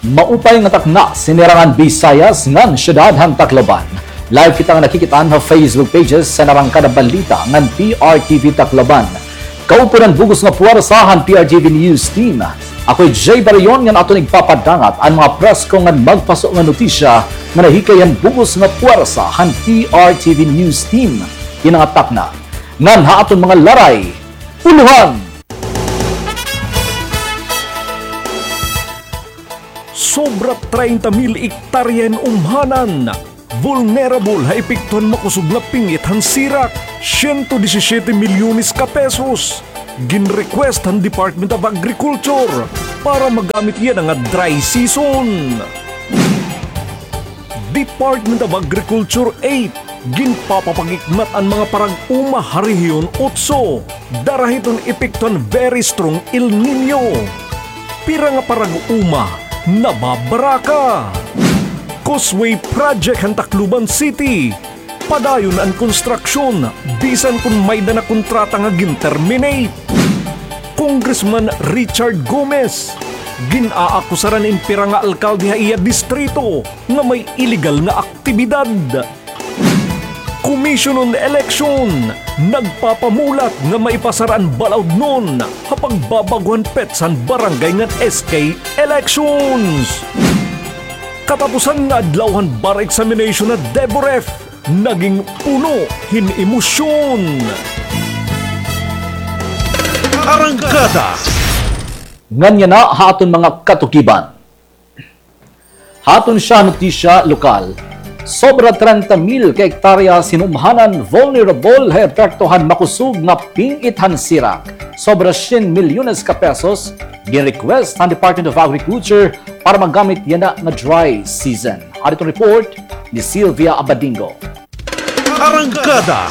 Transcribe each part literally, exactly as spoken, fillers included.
Maupay nga takna, sinirangan Bisayas ngan syudad han Tacloban. Live kita nga nakikit-an ha Facebook pages san Arangkada Balita ngan P R T V Tacloban. Kaupod an bug-os nga puwersa han P R T V News Team. Ako hi Jay Barayon ngan aton igpapadangat an mga presko ngan magpaso nga notisya nga nahikay han bug-os nga puwersa han P R T V News Team. Kina nga takna ngan ha aton mga laray, ulohan. Sobra treinta mil ektarya hin umhanan vulnerable ha epekto han makosog nga ping-it han sirak, siyento disisiete milyones ka pesos. Gin-request han Department of Agriculture para magamit yana nga dry season. Department of Agriculture eight, ginpapapag-ikmat an mga parag-uma ha Rehiyon Otso dara hiton epekto han very strong El Niño. Pira nga parag-uma nababaraka. Causeway Project han Tacloban City, padayon an konstruksyon bisan kon may-ada na kontrata nga gin-terminate. Congressman Richard Gomez, gin-aakusaran in pira nga alkalde ha iya distrito nga may iligal nga aktibidad. Commission on Election, nagpapamulat nga maipasar an balaod ngon ha pagbabag-o han petsa han barangay ngan S K elections. Katapusan nga adlaw han bar examination ha DEVUREF, naging puno hin emosyon. Arangkada. Ngan yana ha aton mga katukiban. Ha aton sya notisya lokal, sobra treinta mil ka ektarya hin umhanan vulnerable ha epekto han makosog nga ping-it han sirak. Sobra syen milyones ka pesos gin-request han Department of Agriculture para magamit yana nga dry season. Ari iton report ni Sylvia Abadingo. Arangkada.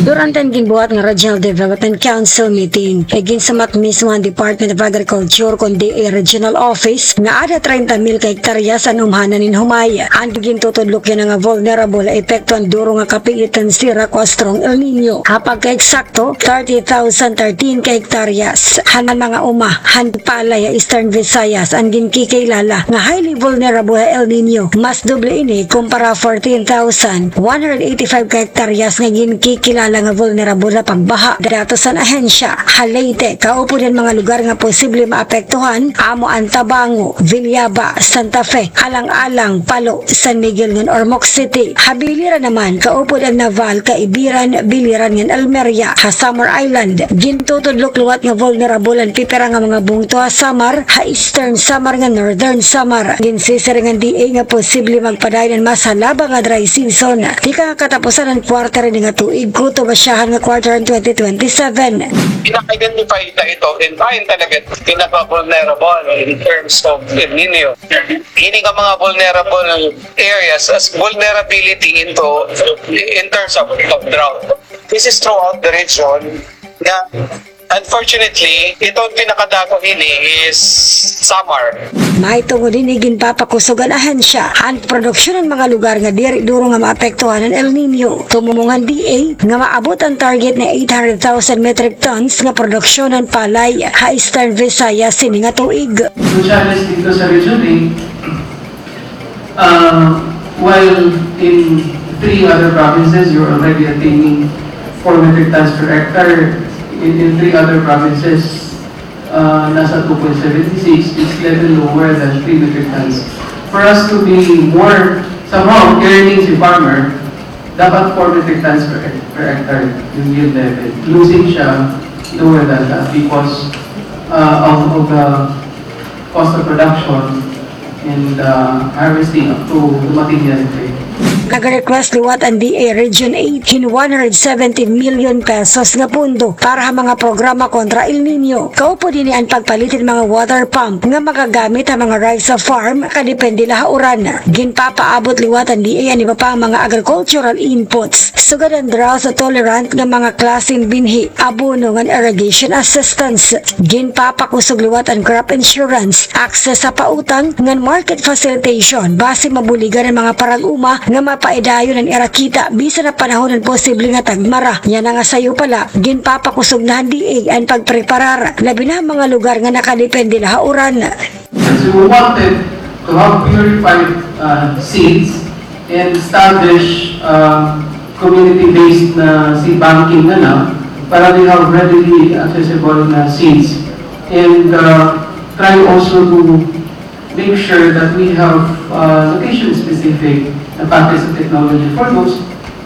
Durante an ginbuhat nga Regional Development Council meeting, iginsumat mismo han Department of Agriculture kon D A Regional Office nga ada treinta mil ka hektaryas an umhanan hin humay. An gintutudlok yana nga vulnerable ha epekto han duro nga kaping-it han sirak o strong El Niño. Ha pagkaeksakto, thirty thousand thirteen ka hektaryas han mga uma han palay ha Eastern Visayas an ginkikilala nga highly vulnerable ha El Niño. Mas doble ini kumpara fourteen thousand one hundred eighty-five ka hektaryas nga ginkikilala nga vulnerable ha pagbaha. Datos han ahensya, ha Leyte, kaupod han mga lugar nga posible maapektuhan amo an Tabango, Villaba, Santa Fe, Alang-alang, Palo, San Miguel ngan Ormoc City. Ha Biliran naman, kaupod an Naval, Caibiran, Biliran ngan Almeria. Ha Samar Island, gintutudlok liwat nga vulnerable an pipira nga mga bungto ha Samar, ha Eastern Samar ngan Northern Samar. Ginsisiring han D A nga posible magpadayon an mas halaba nga dry season tikang ha katapusan han quarter ini nga tuig, kutob ha syahan nga quarter han twenty twenty-seven. Ina-identify ta ito in, ah, in talaga pinaka-vulnerable in terms of El Niño. Ini nga mga vulnerable areas as vulnerability into, in terms of, of drought. This is throughout the region nga, unfortunately, ito ang pinakadako ini is Samar. Mahitungod hini, ginpapakusog han ahensya an produksyon han mga lugar nga diri duro nga maapektuhan han El Niño. Tumumong an D A nga maabot an target nga eight hundred thousand metric tons nga produksyon han palay ha Eastern Visayas sini nga tuig. Crucial is dito sa Region eight, uh, while in three other provinces, you're already attaining four metric tons per hectare. In, in three other provinces, uh, nasa two point seven six, it's level lower than three metric tons. For us to be more, somehow, earning si farmer, dapat four metric tons per, per hectare yung yield level. Losing siya lower than that because, uh, of, of the cost of production and, uh, harvesting up to dumating yan kay Nag-request liwat an D A Region eight hin one hundred seventy million pesos nga pondo para ha mga programa kontra El Niño. Kaupod hini an pagpalit hin mga water pump nga magagamit ha mga rice farm, kadepende la ha uran. Ginpapaabot liwat an D A an iba pang mga agricultural inputs, sugad an drought tolerant nga mga klase hin binhi, abono ngan irrigation assistance. Ginpapakusog liwat an crop insurance, access ha pautang ngan market facilitation, basi mabuligan an mga parag-uma nga mapaidayon an ira kita bisan ha panahon han posible nga tagmara. Yana nga sayo pa la, ginpapakusog na han D A an pagpreparar, labi na ha mga lugar nga nakadepende la ha uran. So we wanted to have purified, uh, seeds and establish, uh, community-based na seed banking na lang para we have readily accessible na seeds. And, uh, try also to make sure that we have, uh, location-specific na package of technology for those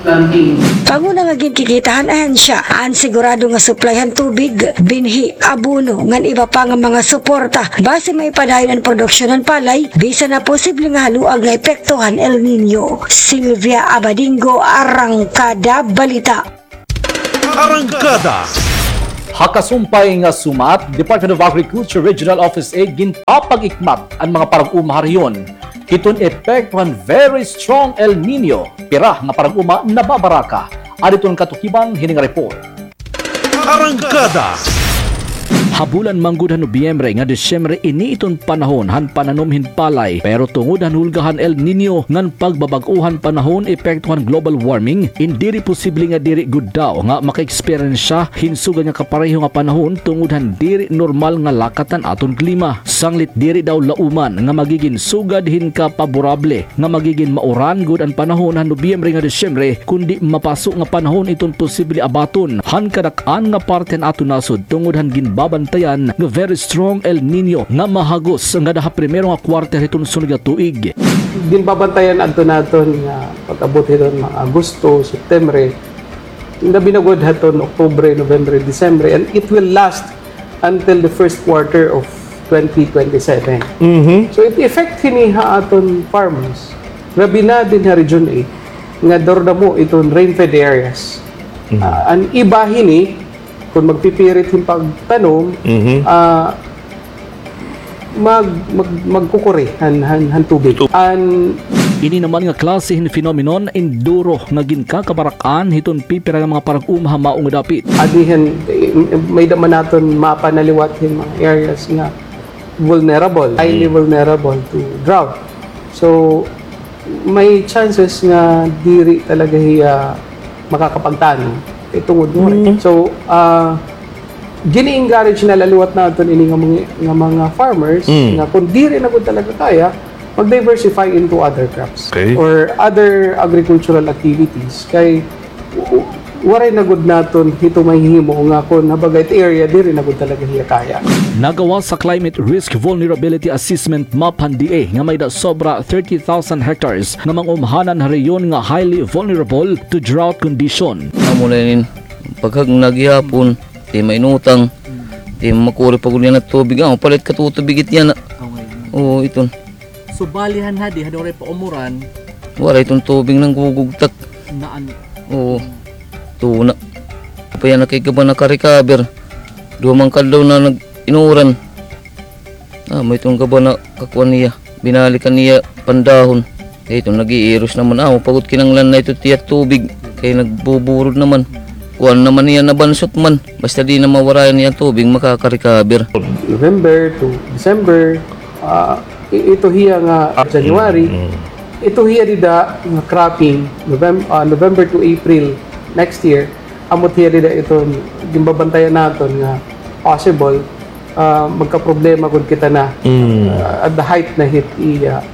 planting. Panguna nga ginkikita han ahensya an sigurado nga supply han tubig, binhi, abono, ngan iba pa nga mga suporta basi maipadayon an produksyon han palay bisan na posible nga haluag nga epekto han El Niño. Sylvia Abadingo, Arangkada Balita. Arangkada. Ha kasumpay nga sumat, Department of Agriculture Regional Office eight ginpapag-ikmat an mga parag-uma ha rehiyon hiton epekto han very strong El Niño, pira nga parag-uma nababaraka. Adi iton katukiban hini nga report. Arangkada. Habulan man gud han Nobyembre nga Disyembre ini iton panahon han pananom hin palay, pero tungod han hulga han El Niño ngan pagbabag-o han panahon epekto han global warming, in diri posible nga diri gud daw nga makaeksperyensya hin sugad nga kapareho nga panahon tungod han diri normal nga lakat han aton klima. Sanglit diri daw lauman nga magigin sugad hin kapaborable nga magigin mauran gud an panahon han Nobyembre nga Disyembre, kundi mapaso nga panahon iton posible abaton han kadak-an nga parte han aton nasod tungod han ginbabantayan nga very strong El Niño nga mahagos ngada ha primero nga quarter hiton sunod nga tuig. Ginbabantayan adto naton nga pag-abot hiton mga Agosto, Septembre, labi na gud haton Oktubre, November, December, and it will last until the first quarter of twenty twenty-seven. Mhm. So, it effect hini ha aton farmers. Labi na dinhi ha Region eight, nga daw damo iton rain-fed areas. Mhm. Ah, an iba hini, kon magpipirit hin pagtanom, mhm, ah, mag-, mag-, magkukuri han, han, han tubig. An ini naman nga klase hin phenomenon in duro nga ginkakabarak-an hiton pipira nga mga parag-uma ha mao nga dapit. Adi hin, eh, may-ada man naton mapa na liwat hin mga areas nga vulnerable, highly, mm, vulnerable to drought. So, may chances nga diri talaga hiya makakapagtanom kay tungod mo. Mm. So, ah, gini-encourage na la liwat naton ini nga mga, nga mga farmers, mm, nga kung diri na gud talaga kaya, mag-diversify into other crops, okay, or other agricultural activities. Kay w-, waray na gud naton hito mahihimo nga kon habaga it area diri na gud talaga hiya kaya. Nagawas sa Climate Risk Vulnerability Assessment Map han D A nga may-ada sobra thirty thousand hectares nga mga umhanan ha rehiyon nga highly vulnerable to drought condition. Amo na inin paghagna gihapon, ti mainutang, ti makuri pa gud yana tubig. Ah, palit ka tutubig it yana. Oo, iton. So, bali han hadi, hadi waray pa umuran. Waray iton tubig nanggugugtak. Naan. Oo. Tuna. Apa yana kay gaba nakarecover. Duha man ka adlaw na nag-inuran. Ah, may iton gaba nakakuan niya. Binalikan niya pandahon. Kay iton nag-iiros naman. Ah, mapagod kinanglan na ito tiya tubig. Kay nagbuburod naman. Kuan naman niya nabansot man. Basta di na mawarayan niya tubig, makakarecover. November to December, ah, I-, ito hiya nga, ah, January, mm, ito hiya dida nga cropping, Novem-, ah, November to April next year, amo hiya dida iton ginbabantayan naton nga possible, ah, magkaproblema gud kita na, mm, ah, at the height na hit iya,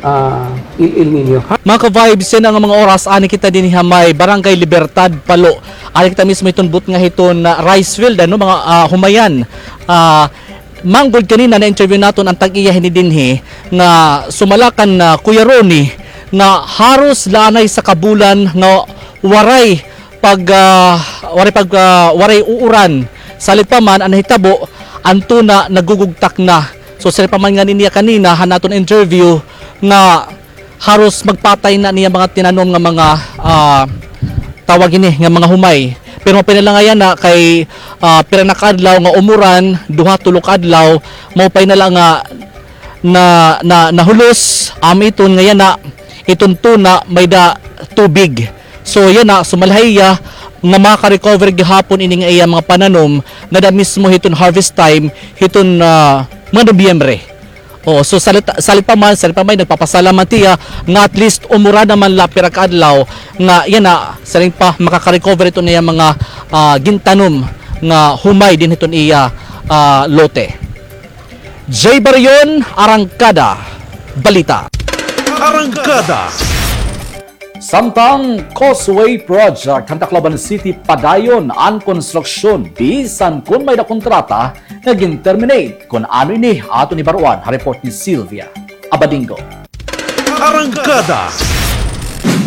ah, El, El Niño. Mga ka-vibes, yana nga mga oras, ani kita dinhi ha may Barangay Libertad, Palo. Ani kita mismo hiton butnga hiton, ah, rice field, ano, mga, ah, humayan. Ah, Manggod kanina na-interview naton an tag-iya hini dinhi nga sumala kan, ah, Kuya Ronnie nga haros la anay saka bulan nga waray pag, ah, waray pag, ah, waray uuran. Salit pa man an nahitabo, an tuna nagugugtak na. So, siring pa man ngani niya kanina han aton interview nga haros magpatay na niya mga tinanom nga mga, ah, tawag ini, nga mga humay. Pero maupay na la nga yana kay, ah, pira na ka adlaw nga umuran, duha, tulo ka adlaw, maupay na la nga na, na, nahulos, amo iton nga yana, iton tuna, may-ada tubig. So, yana, sumala ha iya nga maka-recover gihapon ini nga iya mga pananom, ngada mismo hiton harvest time, hiton, ah, mga Nobyembre. Oo, so salit, salit pa man, salit pa man, nagpapasalamat hiya nga at least umuran naman la pira ka adlaw nga yana, siring pa, makaka-recover iton iya mga, ah, gintanom nga humay dinhi hiton iya, ah, lote. Jay Barion, Arangkada Balita. Arangkada. Samtang Causeway Project han Tacloban City, padayon an konstruksyon bisan kon may-ada kontrata nga gin-terminate. Kon ano ini, aton hibaroan ha report ni Sylvia Abadingo. Arangkada.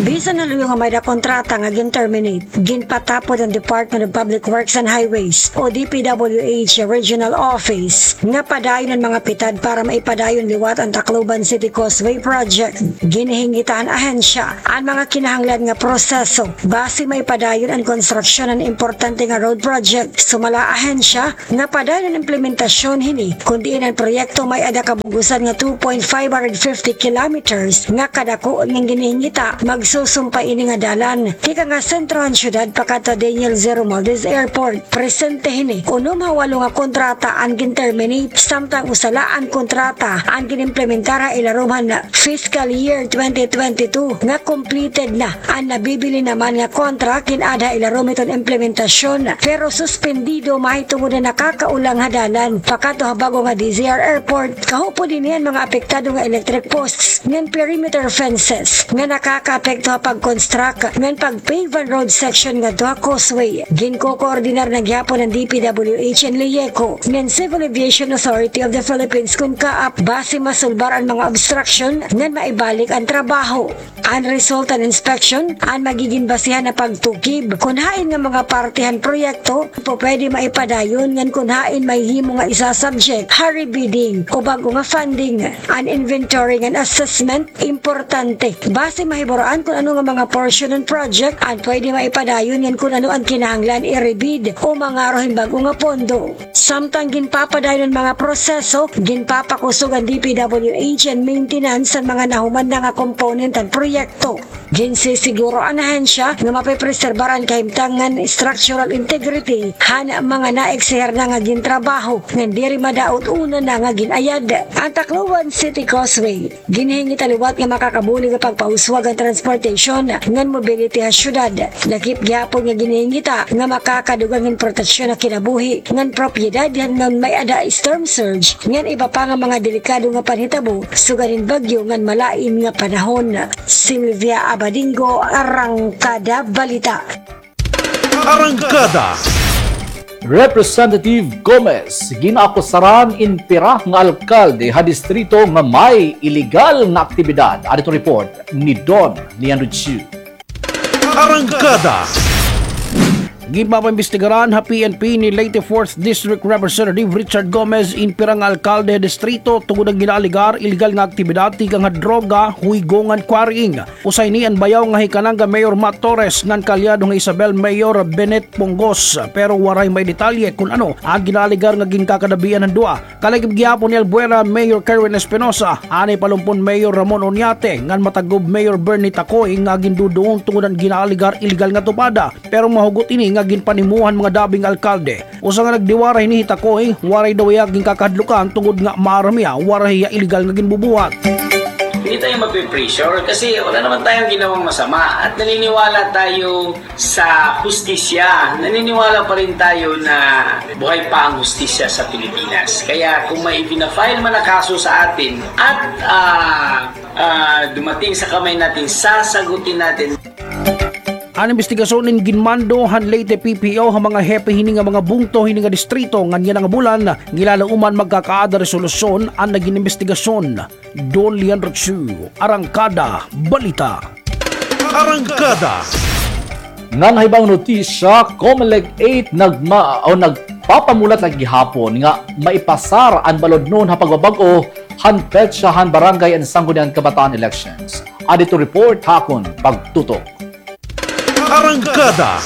Bisan ha luyo nga may-ada kontrata nga gin-terminate, ginpatapod han Department of Public Works and Highways o D P W H Regional Office nga padayon an mga pitad para maipadayon liwat an Tacloban City Causeway Project. Ginhingita han ahensya an mga kinahanglan nga proseso basi maipadayon an konstruksyon han importante nga road project. Sumala ahensya nga padayon an implementasyon hini, kon diin an proyekto may-ada kabug-osan nga two point five hundred fifty kilometers nga kadako, ngan ginhingita magsusumpay ini nga dalan tikang ha sentro han syudad pakadto ha Daniel Z. Romualdez Airport. Presente hini, unom ha walo nga kontrata an gin-terminate, samtang usa la an kontrata an gin-implementar ha ilarom han fiscal year twenty twenty-two nga completed na. An nabibilin naman nga contract gin-add ha ilarom hiton implementasyon, pero suspendido mahitungod han nakakaulang ha dalan pakadto ha bag-o nga D Z R Airport. Kaupod hini an mga apektado nga electric posts ngan perimeter fences nga nakakaapekto ha pag-construct ngan pag-pave han road section ngadto ha causeway. Ginkokoordinar na gihapon han D P W H and LIECO ngan Civil Aviation Authority of the Philippines kon CAAP basi masulbar an mga obstruction ngan maibalik an trabaho. An result han inspection an magigin basihan ha pagtukib kon hain nga mga parte han proyekto pupwede maipadayon ngan kon hain mahihimo nga isa-subject ha rebidding o bag-o nga funding. An inventory ngan assessment importante basi mahibaroan kon ano nga mga portion han project an pwede maipadayon ngan kon ano an kinahanglan i-rebid o mangaro hin bag-o nga pondo. Samtang ginpapadayon an mga proseso, ginpapakusog an D P W H an maintenance han mga nahuman na nga component han proyekto. Ginsisiguro an ahensya nga mapepreserbar an kahimtang ngan structural integrity han mga naeksihir na nga gintrabaho ngan diri madaot una na nga gin-ayad. An Tacloban City Causeway, ginhingita liwat nga makakabulig ha pagpauswag han transportation ngan mobility ha syudad. Lakip gihapon nga ginhingita nga makakadugang hin proteksyon ha kinabuhi ngan propiedad han ngan may-ada storm surge ngan iba pa nga mga delikado nga panhitabo sugad hin bagyo ngan malain nga panahon. Sylvia Abadingo, Arangkada Balita. Arangkada. Representative Gomez, gin-akusaran in pira nga alkalde ha distrito nga may iligal nga aktibidad. Adto report ni Don Leandro Chu. Arangkada. Ginpapaimbestigaran ha P N P ni Leyte Fourth District Representative Richard Gomez in pira nga alkalde ha distrito tungod han ginaalegar iligal nga aktibidad tikang ha droga, huygo ngan quarrying. Usa ini an bayaw nga hi Cananga Mayor Matt Torres ngan kaalyado nga Isabel Mayor Bennett Pongos, pero waray maidetalye kon ano an ginaalegar nga ginkakadabian han duha. Kalakip gihapon ni Albuera Mayor Kerwin Espinosa, anay Palumpon Mayor Ramon Oñate, ngan Matagob Mayor Bernie Tacoy nga ginduduon tungod han ginaalegar iligal nga tupada, pero mahugot ini nga ginpanimuha han mga dabi nga alkalde. Usa nga nagdiwara hini hi Tacoy, waray daw hiya ginkakahadlukan tungod nga maaram hiya waray hiya iligal nga ginbubuhat. Hindi tayo mapipressure kasi wala naman tayong ginawang masama at naniniwala tayo sa hustisya. Naniniwala pa rin tayo na buhay pa ang hustisya sa Pilipinas. Kaya kung may ipina-file man na kaso sa atin at, ah, ah, dumating sa kamay natin, sasagutin natin. An imbestigasyon in ginmando han Leyte P P O ha mga hepe hini nga mga bungto hini nga distrito ngan yana nga bulan, ngilalauman magkakaada resolusyon an nagin imbestigasyon. Don Leandro Chu, Arangkada Balita. Arangkada. Ngan ha ibang notisya, Comelec eight nagma-, o nagpapamulat la gihapon nga maipasar an balodnon ha pagbabag-o han petsa han barangay and sangguniang kabataan elections. Adto report ha akon pagtutok. Arangkada.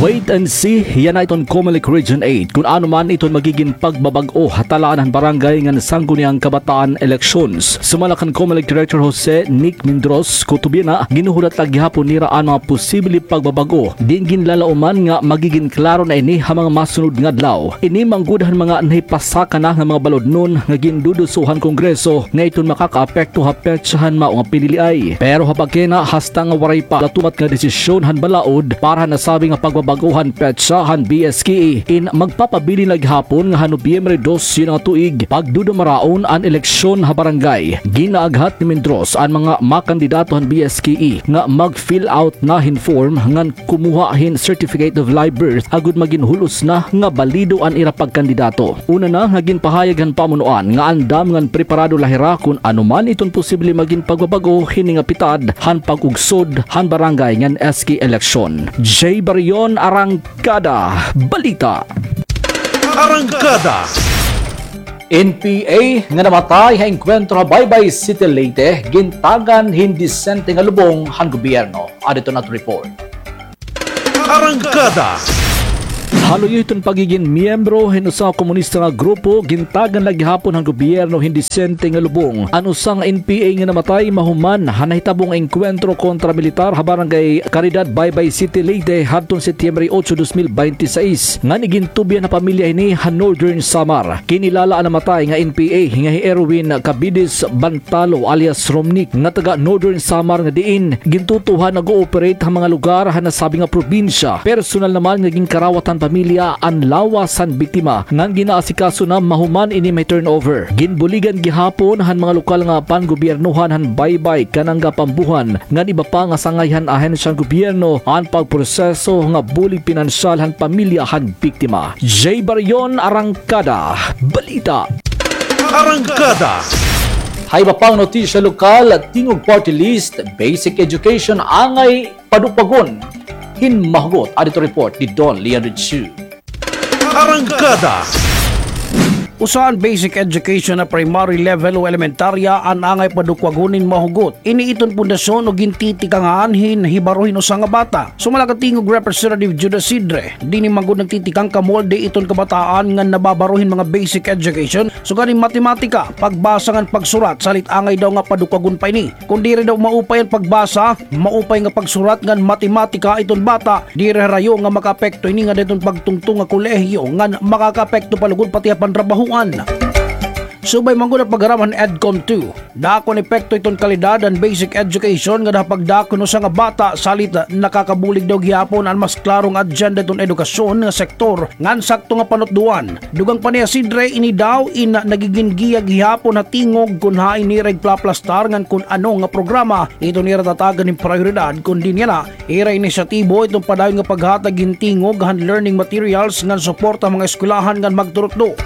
Wait and see, yana iton Comelec Region eight, kun ano man iton magigin pagbabag-o ha talaan han barangay ngan sangguniang kabataan elections. Sumala kan Comelec Director Jose Nick Mindros Cotubina, ginhuhulat la gihapon nira an mga posible pagbabag-o. Diin ginlalauman nga magigin klaro na ini ha mga masunod nga adlaw. Ini manggud han mga nahipasaka na nga mga balodnon nga ginduduso han Kongreso nga iton makakaapekto ha petsa han mao nga piniliay. Pero ha pagkaina, hasta nga waray pa latumat nga desisyon han balaod para ha nasabi nga pagbabag-o, pag-uhan petsa han B S K E in magpapabilin la gihapon nga han Nobyembre dose nga tuig pagdudumaraon an eleksyon ha barangay. Ginaaghat ni Mindros an mga makandidato han B S K E nga mag-fill out na hin form ngan kumuha hin certificate of live birth agod magin hulos na nga balido an ira pagkandidato. Una na nga ginpahayag han pamunuan nga andam ngan preparado la hira kon ano man iton posible magin pagbabag-o hini nga pitad han pag-ugsod han barangay ngan S K eleksyon. Jay Barion, Arangkada Balita. Arangkada. N P A nga namatay ha engkwentro ha Baybay City, Leyte, gintagan hin disente nga lubong han gobyerno. Adi iton aton report. Arangkada. Ha luyo hiton pagigin miyembro hin usa nga komunista nga grupo, gintagan la gihapon han gobyerno hin disente nga lubong an usa nga N P A nga namatay mahuman han nahitabong engkwentro kontra militar ha Barangay Caridad, Baybay City, Leyte, hadton Setyembre otso, dos mil binte y seis, ngan igintubyan ha pamilya hini ha Northern Samar. Kinilala an namatay nga N P A nga hi Erwin Cabides Bantalo alias Romnick nga taga Northern Samar nga diin gintutuohan nag-ooperate ha mga lugar ha nasabi nga probinsya. Personal naman nga ginkarawat han pamilya an lawas han biktima ngan ginaasikaso na mahuman ini may turnover. Ginbuligan gihapon han mga lokal nga pangobyernohan han Baybay, Kananga, Pambuhan ngan iba pa nga sangay han ahensya han gobyerno an pagproseso nga bulig pinansyal han pamilya han biktima. Jay Barion, Arangkada Balita. Arangkada. Ha iba pang notisya lokal, Tingog Party List, basic education angay padukwagon hin mahugot. Adi iton report ni Don Leon Ritchie. Arangkada. Usa an basic education ha primary level o elementarya an angay padukwagon hin mahugot. Ini iton pundasyon o gintitikangan hin hibaro hin usa nga bata. Sumala kan Tingog Representative Judas Sidre, diri man gud nagtitikang kamolde iton kabataan ngan nababaro hin mga basic education, sugad hin matematika, pagbasa ngan pagsurat, salit angay daw nga padukwagon pa ini. Kon diri daw maupay an pagbasa, maupay nga pagsurat ngan matematika iton bata, diri harayo nga makaapekto ini ngada hiton pagtungtong ha kolehiyo ngan makakaapekto pa lugod pati ha panrabahoan. Subay man gud an pag-aram han EDCOM two, dako an epekto iton kalidad han basic education ngada ha pagdako hin usa nga bata, salit nakakabulig daw gihapon an mas klaro nga agenda iton edukasyon nga sektor ngan sakto nga panutdoan. Dugang pa ni Sidre, ini daw in nagigin giya gihapon ha tingog kon hain nira igplaplastar ngan kon ano nga programa iton ira tatagan hin prayoridad, kon diin yana ira inisyatibo iton padayon nga paghatag hin tingog han learning materials ngan suporta ha mga eskwelahan ngan magturutdo.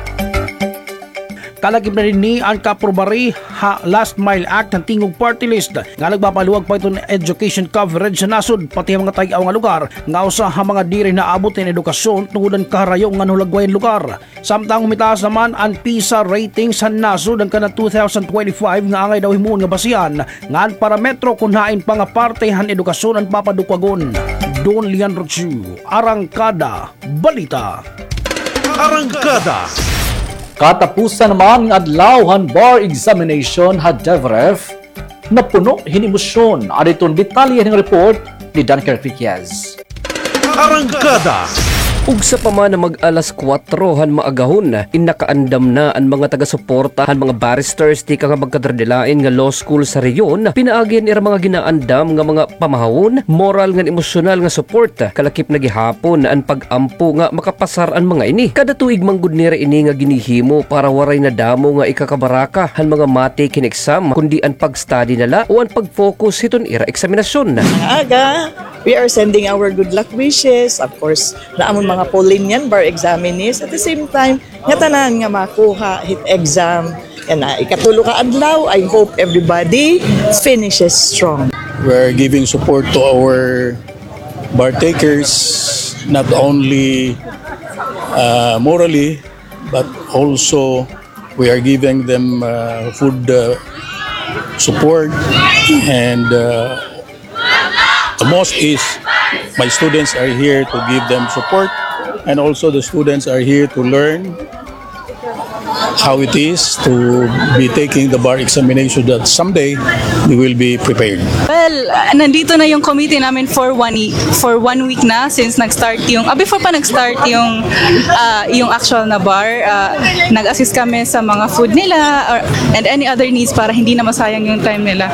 Kalakip na dinhi an kaaprobari ha Last Mile Act han Tingog Party List nga nagpapaluwag pa iton education coverage sa nasod, pati ha mga tay-aw nga lugar nga usa ha mga diri naabot hin edukasyon tungod han kaharayo ngan hulagway han lugar. Samtang humitaas naman an PISA ratings han nasod han kanan two thousand twenty-five nga angay daw himuon nga basihan ngan parametro kon hain pa nga parte han edukasyon an papadukwagon. Don Leon Rochu, Arangkada Balita. Arangkada. Katapusan naman nga adlaw han bar examination ha DevRef, napuno hin emosyon. Adi iton detalye hin report ni Dunker Enriquez. Arangkada. Ugsa pa man nga mag-alas kuwatro han maagahon, in nakaandam na an mga taga-suporta han mga barristers tikang ha magkadaradilain nga law school sa rehiyon, pinaagi han ira mga ginaandam nga mga pamahawon, moral ngan emosyonal nga support. Kalakip na gihapon an pag-ampo nga makapasar an mga ini. Kada tuig man gud nira ini nga ginhihimo para waray na damo nga ikakabaraka han mga matik hin exam, kundi an pag-study na la o an pag-focus hiton ira eksaminasyon. Aga, we are sending our good luck wishes. Of course, naa man mga Paulinian bar examinees. At the same time, ngatanan nga makuha hit exam. Yana, ikatulo ka adlaw, I hope everybody finishes strong. We're giving support to our bar takers, not only, uh, morally, but also we are giving them, uh, food, uh, support, and, uh, the most is my students are here to give them support, and also the students are here to learn. how it is to be taking the bar examination, that someday they will be prepared. Well, ah, nandito na yung committee namin for one, i- for one week na since nag-start yung, ah, before pa nag-start yung, ah, yung actual na bar. Ah, nag-assist kami sa mga food nila or, and any other needs para hindi na masayang yung time nila,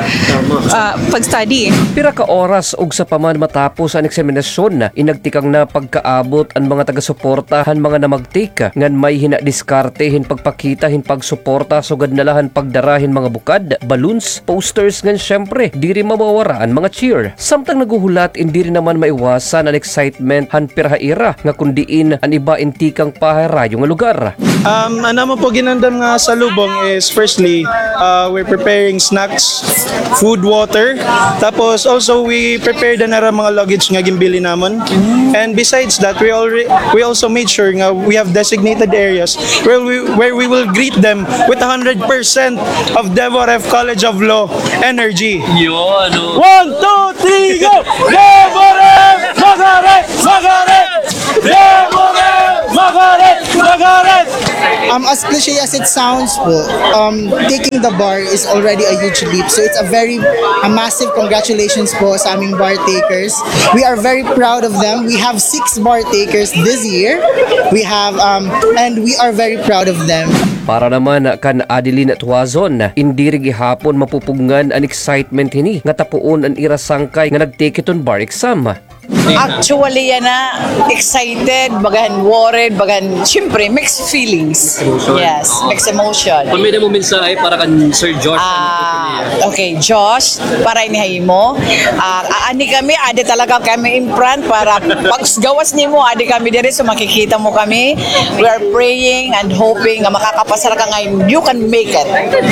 ah, pag-study. Pira ka oras ugsa pa man matapos an eksaminasyon, inagtikang na pagkaabot an mga taga-suporta han mga namagtik, ngan may hin-a diskarte hin pagpakita hin pagsuporta sugad na la han pagdara hin mga bukad, balloons, posters, ngan syempre, diri mawawara an mga cheer. Samtang naghuhulat, in diri naman maiwasan an excitement han pira ha ira nga kon diin an iba in tikang pa ha harayo nga lugar. Um, an amon po ginandam nga salubong is firstly, uh, we're preparing snacks, food, water. Tapos also we prepared an ara mga luggage nga ginbili namon. And besides that, we already we also made sure nga we have designated areas where we where we will greet them with one hundred percent of Devo Ref College of Law energy. Yun, ano? One, two, three, go! Devo Ref! Magaret! Magaret! Devo Ref! Magaret! Magaret! Um, as cliche as it sounds po, um, taking the bar is already a huge leap. So it's a very, a massive congratulations po sa aming bar takers. We are very proud of them. We have six bar takers this year. We have, um, and we are very proud of them. Para naman kan Adeline Tuazon, in diri gihapon mapupugngan an excitement hini nga tapuon an ira sangkay nga nag-take hiton bar exam. Actually, yana, excited, bagan worried, bagan, syempre, mixed feelings. Emotion. Yes, mixed emotion. Kon may-ada mo mensahe para kan Sir Josh, ano po niya? Ah, okay, Josh, para ini ha imo. Ah, aani kami, adi talaga kami in front para paggawas nimo, adi kami diri, so makikita mo kami. We are praying and hoping nga makakapasar ka nga you can make it.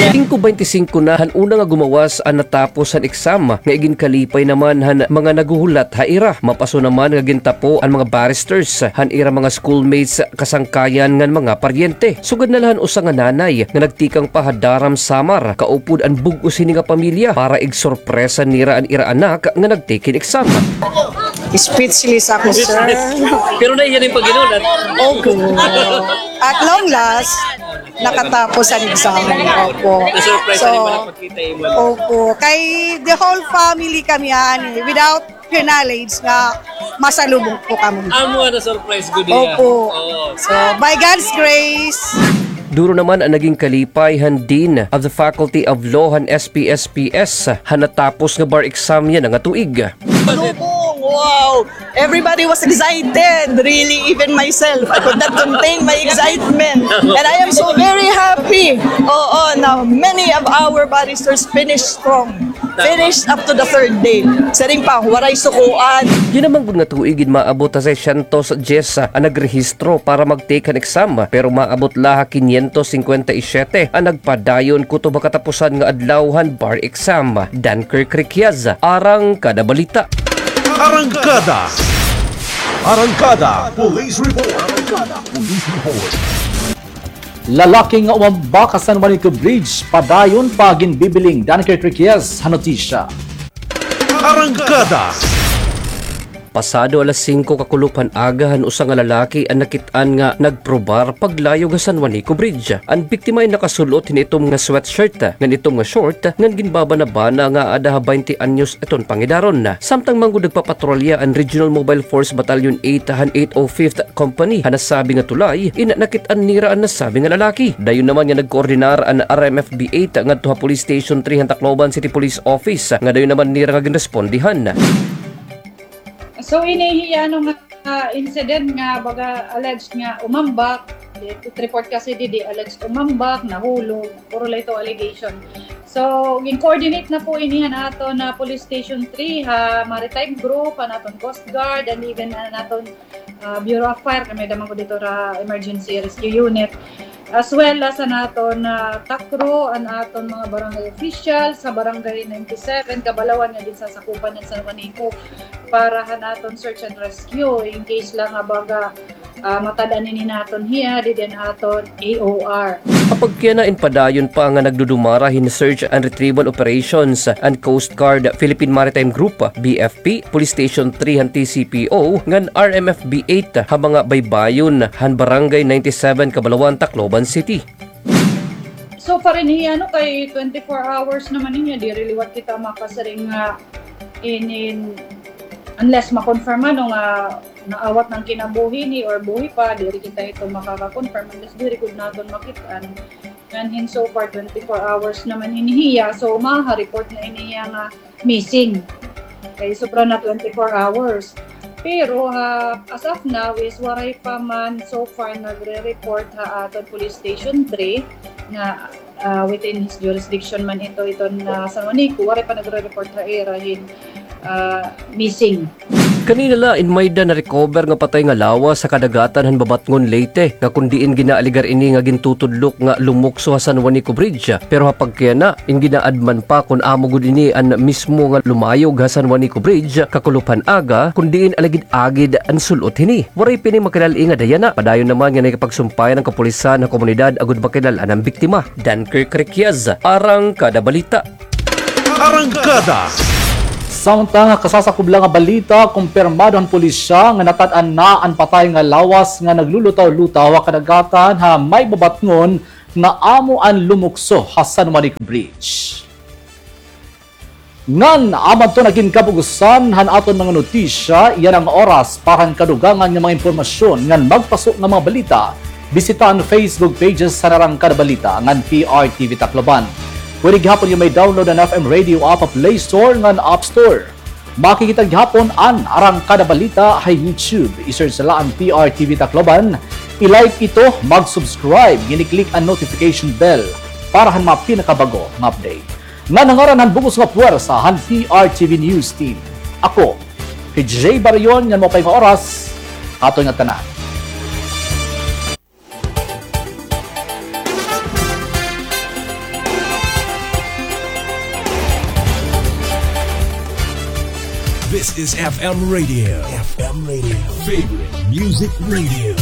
Singko bente singko na han una nga gumawas an natapos han exam, nga iginkalipay naman han mga naghuhulat ha ira. Mapaso naman nga gintapo an mga barristers han ira mga schoolmates, kasangkayan ngan mga paryente. Sugad na la han usa nga nanay nga nagtikang pa ha Daram, Samar, kaupod an bug-os hini nga pamilya para igsorpresa nira an ira anak nga nag-take hin exam. Speechless ako, sir. Pero nahiya na hin paghinulat. Opo. At long last, nakatapos an exam. Opo. Na-surprise. So, nimo na pagkita imo. Opo. Kay the whole family kami, ani, without her knowledge nga masalubong po kami. Amo an na-surprise gud niya. Opo. Oo. So, by God's grace. Duro naman an naging kalipay han Dean of the Faculty of Law han S P S P S han natapos nga bar exam yana nga tuig. Salubong! Wow! Everybody was excited, really, even myself. I could not contain my excitement. And I am so very happy. Oo, na many of our barristers finished strong. Finished up to the third day. Siring pa, waray sukoan. Yana man gud nga tuig, ginmaabot ha seiscientos dyes an nagrehistro para mag-take han exam, pero maabot la ha quinientos cincuenta y siete an nagpadayon kutob ha katapusan nga adlaw han bar exam. Dunkirk Riquiaz, Arangkada Balita. Arangkada. Arangkada Police Report. Arangkada Police Report. Lalaki nga umambak ha San Juanico Bridge, padayon pa ginbibiling. Dunkirk Riquiaz han notisya. Arangkada. Pasado alas singko kakulop han aga han usa nga lalaki an nakit-an nga nagprobar paglayog ha San Juanico Bridge. An biktima in nakasul-ot hin itom nga sweatshirt ngan itom nga short ngan ginbabanabana nga aada ha baynte anyos iton pangidaron. Samtang man gud nagpapatrolya an Regional Mobile Force Battalion eight han eight oh fifth Company ha nasabi nga tulay, in nakit-an nira an nasabi nga lalaki. Dayon naman nga nagkoordinar an R M F B eight ngadto ha Police Station three han Tacloban City Police Office, nga dayon naman nira nga ginrespondihan. So, ini hiya, ano, nga, ah, incident nga baga alleged nga umambak, it report kasi didi alleged umambak, nahulog, puro la ito allegation. So, gin-coordinate na po ini han aton, ah, Police Station three, ha Maritime Group, han aton Coast Guard, and even han aton, ah, Bureau of Fire, kay may-ada man gud dito ra Emergency Rescue Unit, as well as an aton, ah, TACRO, an aton mga barangay officials sa Barangay ninety-seven, Kabalawan, nga ginsasakupan han San Juanico para han aton search and rescue in case la nga baga, ah, matad-an ini naton hiya didi han aton A O R. Apagkayana in padayon pa nga nagdudumara hin search and retrieval operations an Coast Guard, Philippine Maritime Group, B F P, Police Station three han T C P O, ngan R M F B eight ha mga baybayon han Barangay ninety-seven, Kabalawan, Tacloban City. So far ini hiya, no, kay twenty-four hours naman ini hiya, diri liwat kita makasiring nga inin, unless ma-confirm, ano, nga naawat na an kinabuhi ini or buhi pa, diri kita hito makaka-confirm unless diri gud naton makit-an. Ngan hin so far, twenty-four hours naman ini hiya, so maha-report na ini hiya nga missing. Kay sobra na twenty-four hours. Pero, ha, as of now is waray pa man so far nagre-report ha aton Police Station three nga, ah, within his jurisdiction man ito, iton, ah, San Juanico, waray pa nagre-report ha ira hin, ah, missing. Kanina la in may-ada na-recover nga patay nga lawas ha kadagatan han Babatngon, Leyte, nga kon diin ginaalegar ini nga gintutudlok nga lumukso ha San Juanico Bridge. Pero ha pagkuyana, in ginaadman pa kon amo gud ini an mismo nga lumayog ha San Juanico Bridge kakulop han aga, kon diin alagid-agid an sul-ot hini. Waray pa ini makilal-i nga dayana. Padayon naman nga nakipagsumpayan an kapulisan ha komunidad agod makilal-an an biktima. Dunkirk Requias, Arangkada Balita. Arangkada. Samtang ha kasasakob la nga balita, kumpirmado han pulisya nga natat-an na an patay nga lawas nga naglulutaw-lutaw ha kadagatan ha may Babatngon nga amo an lumukso ha San Juanico Bridge. Ngan amo adto na gin kabug-osan han aton mga notisya. Yana nga oras para han kadugangan nga mga impormasyon ngan magpaso nga mga balita, bisita an Facebook pages han Arangkada Balita ngan P R T V Tacloban. Pwede gihapon nga ma-download an F M Radio app ha Play Store ngan App Store. Makikita gihapon an Arangkada Balita ha YouTube. I-search la an P R T V Tacloban. I-like ito, mag-subscribe, ngan i-click an notification bell para han mga pinakabag-o nga update. Ngan ha ngaran han bug-os nga puwersa han P R T V News Team, ako hi Jay Barion, ngan maupay nga oras ha aton ngatanan. This is F M Radio. F M Radio. Favorite music radio.